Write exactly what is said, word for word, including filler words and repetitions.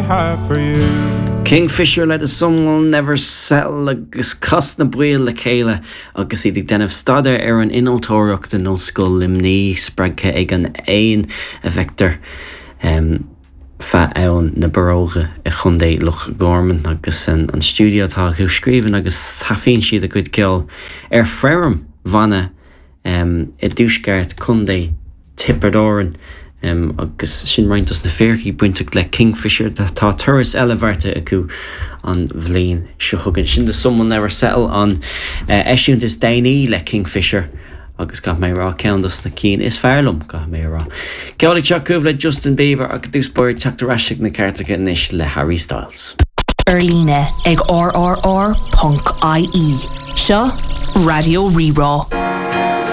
have for you. Kingfisher le The Sun Will Never Settle agus cas na baill le chéile agus iad ag déanamh staidéar ar an innealtóireacht in Ollscoil Luimnigh spreagtha ag an éan a bhfeictear um, feadh abhainn na Borróige i gContae Loch Garman agus an, an stiúideo atá acu scríobhann agus taifeadann siad a gcuid ceoil ar feirm bhanna um, i dtuaisceart Contae Thiobraid Árann. Um, agus sin roinnt dos na fíricí bainteach le Kingfisher tá turas eile beartaithe acu an bhliain seo chugainn. Sin The Sun Will Never Settle an uh, eisiúint is déanaí le Kingfisher agus caithfidh mé rá ceann dos na cinn is fearr liom caithfidh mé rá. Ceol acu le Justin Bieber agus dúspóir teachta reisigh na ceartacha anois le Harry Styles. Ar líne ag rrr.ie. Seo Raidió Rí-Rá.